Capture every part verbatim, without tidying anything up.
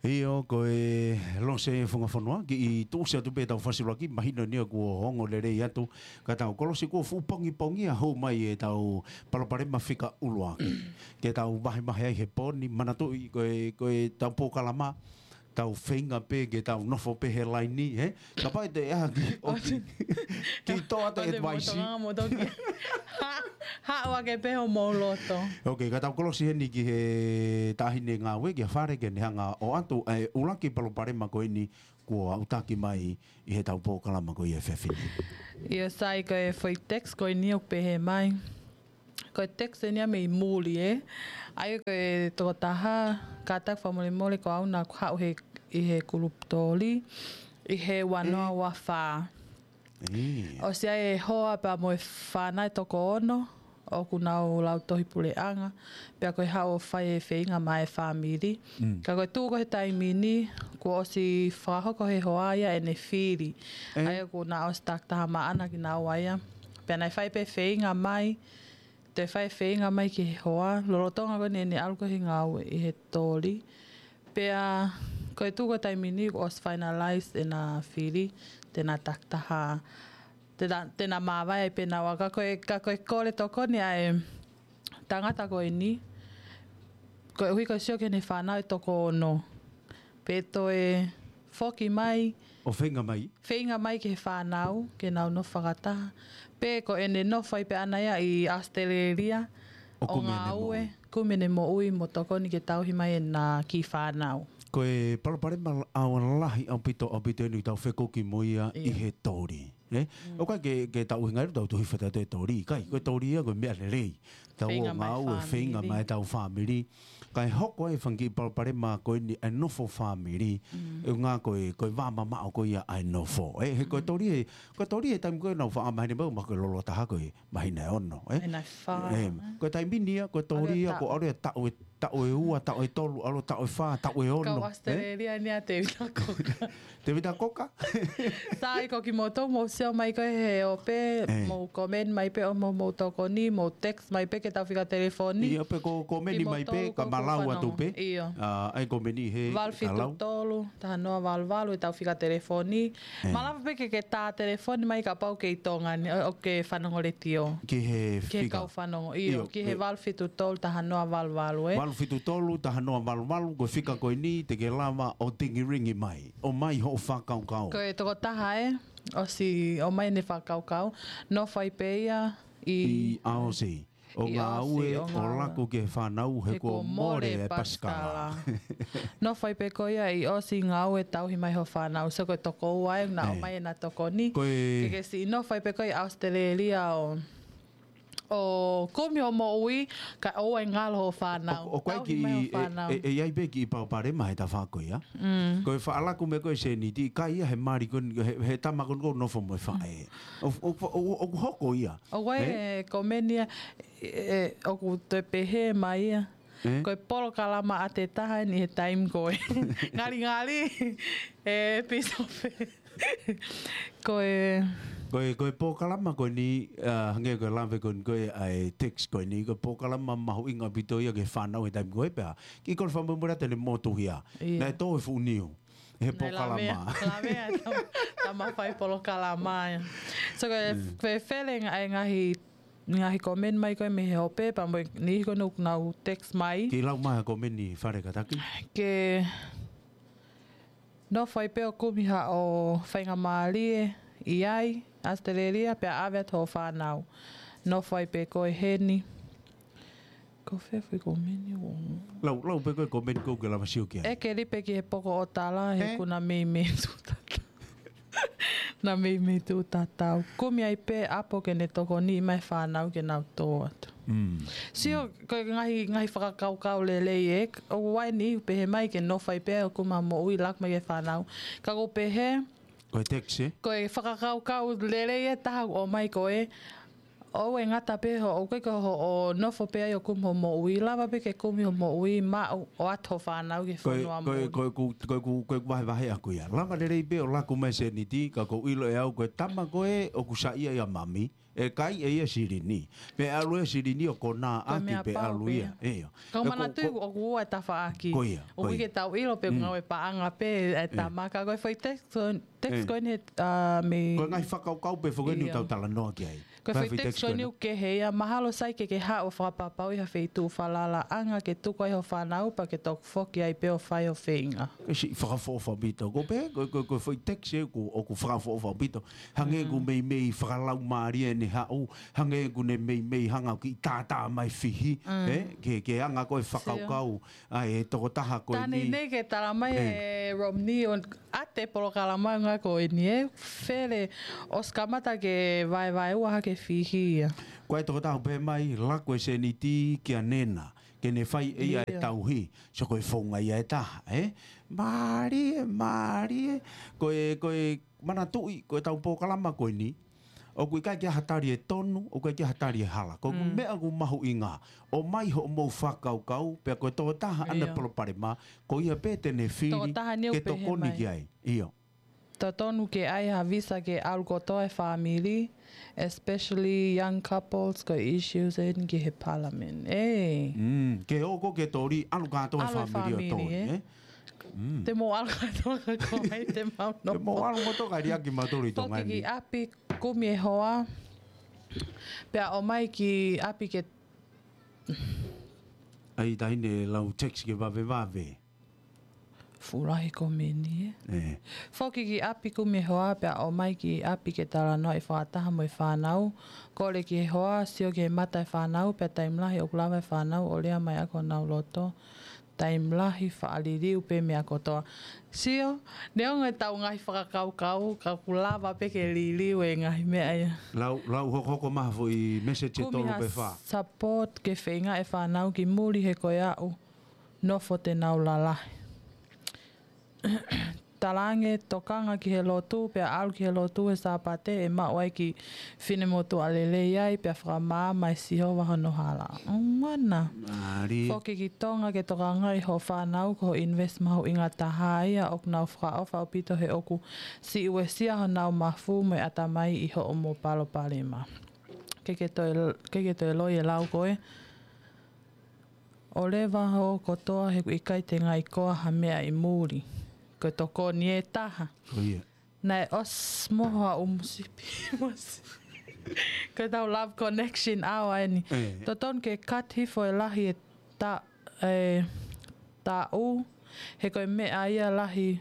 ʻIo, ko e Lose Funga Fonua, kiʻi tuʻusi atu pē ʻetau fasiulaki, mahino eni ia kuo ongo lelei atu, ka tau kolosi kuo fuʻu pongipongi ʻa hū mai ʻetau palopalema fika ʻuluaki. Ke tau vahevahe ai he pō ni, manatuʻi ko e, ko ʻetau polokalama, tau feinga pē ke tau nofo pē he laini, he? Kapau ʻe toe ʻā ki, ʻo ki, ki toa te ʻo te advice. Motonga motoki. Ha, haʻu ake pē homou loto. Ok, ka tau kolosi heni ki he taʻahine ngāue, kia Fale ke ne hanga ʻo ʻoatu ʻa e ʻuluaki palopalema ko eni kuo aʻutaki mai ʻi heʻetau polokalama ko ia he efiafi ni. ʻIo, Sai, ko e foʻi text ko eni ʻoku pehē mai. Ko e text eni ia mei muli, ē. ʻA ia ko e tokotaha, kātaki fakamolemole ko au naʻa ku haʻu he, ʻi he kulupu toli, ʻi he ua noa ua fā. ʻIo. ʻOsi ʻi ai e hoa pea mo e fānau ʻe toko ono, ʻoku nau lautohi puleʻanga, pea ko e haʻu ʻo fai e feinga maʻa e fāmili. Mm. Ka ko e tuʻu ko ē he taimi ni, kuo ʻosi fakahoko he hoa ia ʻene fili. ʻE. ʻA ia kuo nau ʻosi takitaha maʻana kinaua ia. Pea naʻe fai pē feinga mai, toe fai feinga mai ki he hoa, lolotonga ko eni ʻene ʻalu ko ē he ngāue ʻi he toli. Pea ko e tuʻu ko ē he taimi ni kuo ʻosi finalize ʻena fili, te na takitaha, te na, te na māvae ai pē naua. Ka ko e, ka ko e kole tokoni ʻa e tangata ko eni, koeʻuhi ko e sio ki heʻene fānau ʻe toko ono. Pe toe foki mai. ʻO feinga mai. Feinga mai ki he fānau, ke nau nofo fakataha. Pe ko ʻene nofo ai pē ʻana ia ʻi ʻAositelēlia, ʻo kumi ʻene ngāue, moʻui. Kumi ʻene moʻui mo tokoni ke tauhi mai ʻena kiʻi fānau. Ko e palopalema ʻaonga lahi ʻaupito, ʻaupito eni ʻoku tau fekuki mo ia ʻi he toli. ʻE? Mm. ʻOku ʻikai ke, ke tau hinga ʻi he tau tohi fata te toli. ʻIkai, ko e toli ia, ko e meʻa lelei. Tau ō ngāue, feinga mai ʻetau fāmili. Kae hoko ai e fanga kiʻi palopalema ko eni ʻa e nofo fāmili. Mm. ʻUhinga ko e, ko e vā mamaʻo ko ia ʻa e nofo. ʻE, he ko e toli ē, ko e toli ē taimi ko ē naʻa ku faʻa maheni mai, ma ko e lolo taha ko e māhina ʻe ono, ē? Māhina ʻe fā, ē, ko e taimi ni ia, ko e toli ia, ko e ʻalu ia taʻu ʻe, taʻu ʻe ua, taʻu ʻe tolu, ʻalu taʻu ʻe fā, taʻu ʻe ono, ē? Kau ʻAositelēlia ni ʻa Tēvita Koka. Tēvita Koka? Sai, ko kimoutolu mou sio mai ko ē he ope, mou comment mai pē ʻo mou, mou tokoni, mou text mai pē ki heʻetau fika telefoni. ʻIo, pe ko comment mai pē, ka malau atu pē. ʻIo. ʻA, ʻai comment he valu fitu tolu, taha noa valu valu, ʻetau fika telefoni. Malava pē ke ke tā telefoni mai kapau ʻoku ke ʻi Tonga ni, ʻo, ʻoku ke fanongo letiō. Ki he fika. Ki he kau fanongo, ʻio, ʻio, ki he valu fitu tolu, taha noa valu valu, ē? Valu fitu tolu, taha noa valu valu, ko e fika ko eni, te ke lava ʻo tingiringi mai. ʻOmai hoʻo fakakaukau. Ko e tokotaha ē, ʻosi ʻomai ʻene fakakaukau, nofo ai pē ia ʻi ʻAosi. ʻO ngāue, ʻo laku ki he fānau, he kuo mole e pasikala. Nofo ai pē ko ia ʻi ʻAosi ngāue tauhi mai hoʻo fānau. So ko e toko ua ē, naʻa ʻomai ʻena tokoni. Ke ke siʻi nofo ai pē ko ia ʻi ʻAositelēlia ʻo ʻo kumi hoʻo moʻui, kae ʻoua ʻe ngalo hoʻo fānau. ʻOku ʻi ai kiʻi, ʻe, ʻe ʻi ai pē kiʻi palopalema he tafaʻaki ko ia. Mm. Ko e faʻa laku mai ko ē seniti, ʻikai ia he mali ko ē, he, he tama ko ē ʻoku nofo mo e faʻē. ʻOku, ʻoku, ʻoku, ʻoku hoko ia. ʻOku ʻi ai e comment ia, ʻe, ʻoku toe pehē mai ia. Ko e polokalama ʻa e taha eni he taimi ko ē. Ngalingali, ʻe, Pīsope. Ko e, ko e, ko e polokalama ko eni, ʻa, hangē ko e lave ko eni ko ē ʻa e text ko eni, ko e polokalama mahuʻinga ʻaupito ia ki he fānau he taimi ko ē pea. Kiʻi kole fakamolemole atu ʻene motuhia. ʻIo. Naʻe tō e fuʻu niu. He polokalama. Naʻe lave, lave ʻa e tama, tama fai polokalama ia. So ko e, ko e fele ngaahi, ngaahi comment mai ko ē mei he ope, pea mo e niʻihi ko ē ʻoku nau text mai. Kiʻi lau mai ha comment ʻi Fale kātaki. Ke nofo ai pē ʻo kumi haʻo faingamālie ʻi ai, ʻAositelēlia, pea ʻave atu hoʻo fānau. Nofo ai pē koe heni. Ko fē foʻi comment ʻoku. Lau, lau pē ko e comment ʻoku ke lava sio ki ai. ʻEke lipe ki he poko ʻo tala, he kuo na meimei tuʻu tatau. Na meimei tuʻu tatau. Kumi ai pē ʻapo ke ne tokoniʻi mai fānau ke nau tō atu. Mm. Sio, ko e ngaahi, ngaahi fakakaukau lelei ē, ʻoku ʻi ai e niʻihi ʻoku pehē mai ke nofo ai pē ʻo kumi ha moʻui laku mai ki he fānau. Ka ʻoku pehē, ko e text ē? Ko e fakakaukau lelei ē taha ʻoku ʻomai ko ē, ʻoua ʻe ngata pē hoʻo, ʻoku ʻikai ko hoʻo nofo pē ai ʻo kumi hoʻo moʻui, lava pē ke kumi hoʻo moʻui, maʻu ʻo ʻoatu hoʻo fānau ki he fonua moʻui. Ko e, ko e, ko e, ko e, ko e, ko e vahevahe ʻaku ia. Lava lelei pē ʻo laku mai seniti, ka ʻoku ou ʻilo ʻe au ko e tama ko ē ʻoku saiʻia ʻia mami, ʻe kai ʻe ia silini. Pea ʻalu ʻa e silini ʻo konā ʻaki pea ʻalu ia. ʻIo. Ka ʻoku ou manatuʻi ʻoku ua e tafaʻaki. Ko ia, ko ia. ʻOku ʻikai ke tau ʻilo pe ngāue paʻanga pē e tama. Ka ko e foʻi text ko eni he, ā, mei. Ko e ngaahi fakakaukau pē foki eni ʻoku tau talanoa ki ai. Ko e foʻi text ko eni ʻoku kehe ia, mahalo sai ke ke haʻu ʻo fakapapauʻi ha feituʻu falalaʻanga ke tuku ai ho fānau pea ke toki foki ai pē ʻo fai ho feinga. Ko e siʻi fakaʻofoʻofa ʻaupito. Ko e pehē, ko, ko, ko e foʻi text ē ʻoku, ʻoku fakaʻofoʻofa ʻaupito. Hangē ʻoku meimei fakalaumālie ʻene haʻu, hangē ʻoku ne meimei hanga ʻo kiʻi tātā mai fihi, ē? Ke, ke anga ko e fakakaukau, ʻa e tokotaha ko eni. Tani nei ke tala mai ʻe Romney ʻo ʻa e polokalama ngā ko eni ē, fele ʻosi kamata ke vaevaeua hake fihi ia. Ko e tokotaha ʻoku pehē mai, laku e seniti kia Nena, ke ne fai ʻe ia e tauhi, so ko e founga ia ʻe taha, ē? Mālie, mālie, ko e, ko e manatuʻi, ko e tau polokalama ko eni, ʻoku ʻikai ke ʻi ai ha tali ʻe tonu, ʻoku ʻikai ke ʻi ai ha tali ʻe hala. Ko e meʻa ʻoku mahuʻinga, ʻomai hoʻomou fakakaukau, pea ko e tokotaha ʻa ʻene palopalema, ko ia pē te ne fili ke tokoni ki ai. ʻIo. Totonu ke ʻai ha visa ke ʻalu kotoa e fāmili, especially young couples, ko e issues eni ki he parliament. ʻEi. Ke ō ko ke toli, ʻalu kātoa e fāmili ʻo toli, ē? Te mou ʻalu kātoa ka ko hai te mau nofo. Te mou ʻalu mo toka liaki mautolu ʻi Tonga ni. Foki ki ʻapi, kumi e hoa, pea ʻomai ki ʻapi ke. ʻAi taʻahine lau text ke vavevave. Fuʻu lahi komeni, ē? Foki ki ʻapi, kumi e hoa pea ʻomai ki ʻapi ke talanoaʻi fakataha mo e fānau. Kole ki he hoa, sio ki he mata e fānau, pea taimi lahi ʻoku lava e fānau ʻo lea mai ʻaki honau loto. Taimi lahi faʻa liliu pē meʻa kotoa. Sio, neongo e tau ngaahi fakakaukau, ka ʻoku lava pē ke liliu e ngaahi meʻa ia. Lau, lau hokohoko mai ha foʻi message ʻe tolu pe fā. Kumi ha support ke feinga e fānau ki muli he ko e aʻu nofo te nau lalahi. Talaange tokanga ki he lotu, pea ʻalu ki he lotu he Sāpate ʻe maʻu ai ki finemotuʻa lelei ai, pea fakamaama ʻe Sihova hono hala. ʻOmana. Foki ki Tonga ke tokangaʻi ho fānau ko ho invest mahuʻinga taha ia ʻoku nau fakaʻofa ʻaupito he ʻoku siʻi uesia honau mafu mo e ʻatamai ʻi hoʻomou palopalema. Ke ke toe, ke ke toe loi e lau ko ē. ʻO leva ho kotoa he ʻoku ʻikai te ngai koa ha meʻa ʻi muli. Ko e tokoni ʻe taha. Ko ia. Naʻe ʻosi moho ʻa ʻumu sipi. Ko e tau love connection ʻaua eni. Totonu ke cut hifo e lahi e ta, e taʻu. He ko e meʻa ia lahi.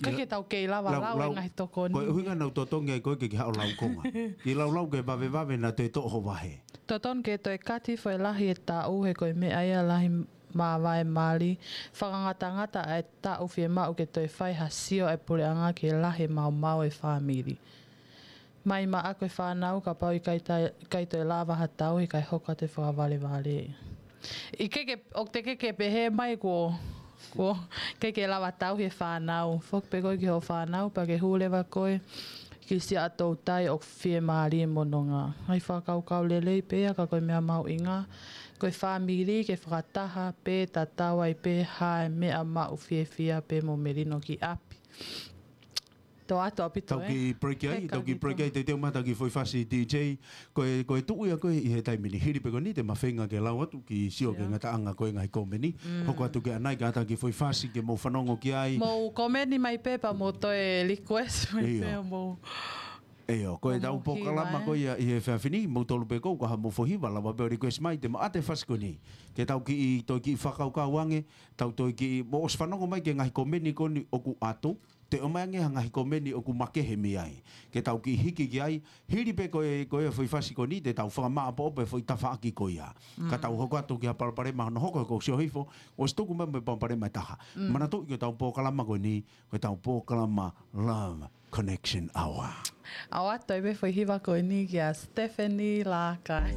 Ka ke tau kei lava lau, lau e ngaahi tokoni. Ko e ʻuhinga naʻa ku totongi ai koe ke ke haʻu lau konga. Ke lau lau ke vavevave naʻa toe toʻo ho vahe. Totonu ke toe cut hifo e lahi e taʻu he ko e meʻa ia lahi māvae mali. Fakangatangata ʻa e taʻu fiemaʻu ke toe fai ha sio ʻa e puleʻanga ke lahi e maumau e fāmili. Mai maʻa ko e fānau kapau ʻikai ta, ʻikai toe lava ha tau he ʻikai hoko atu e fakavalevale. ʻIkai ke, ʻoku te ke ke pehē mai kuo, kuo ke ke lava tau he fānau. Foki pē koe ki ho fānau, pea ke hū leva koe ki siʻa toutai ʻoku fiemālie mo nonga. Ngaahi fakakaukau lelei pē ia ka ko e meʻa mahuʻinga. Ko e fāmili ke fakataha pē tatau ai pē ha meʻa maʻu fiefia pē mo melino ki ʻapi. Tō atu ʻaupito, ē? Tau kiʻi break ai, tau kiʻi break ai, te teu mata ki foʻi fasi D J. Ko e, ko e tuʻu ia ko ē ʻi he taimi ni. Hili pē ko eni te ma feinga ke lau atu ki sio ki he ngataʻanga ko ē ngaahi komeni. Hoko atu ki ʻanai ka ata ki foʻi fasi ke mou fanongo ki ai. Mou komeni mai pē pea mou toe request mai pē ʻo mou. ʻIo, ko e tau polokalama ko ia ʻi he efiafi ni, mou tolu pē kou, ka ha mou foʻi hiva, lava pē ʻo request mai, te ma ʻate fasi ko eni. Ke tau kiʻi, toe kiʻi fakakaukau ange, tau toe kiʻi, mou ʻosi fanongo mai ki he ngaahi komeni ko eni ʻoku atu, te ʻomai ange ha ngaahi komeni ʻoku makehe mei ai. Ke tau kiʻi hiki ki ai, hili pē ko e, ko e foʻi fasi ko eni, te tau fakamāʻopoʻopo e foʻi tafaʻaki ko ia. Ka tau hoko atu ki ha palopalema hono hoko he kou sio hifo, ʻosi tuku mai mo e palopalema ʻe taha. Manatuʻi ko e tau polokalama ko eni, ko e tau polokalama Love Connection Hour. ʻOatu ai pē foʻi hiva ko eni kia Stephanie Lakai.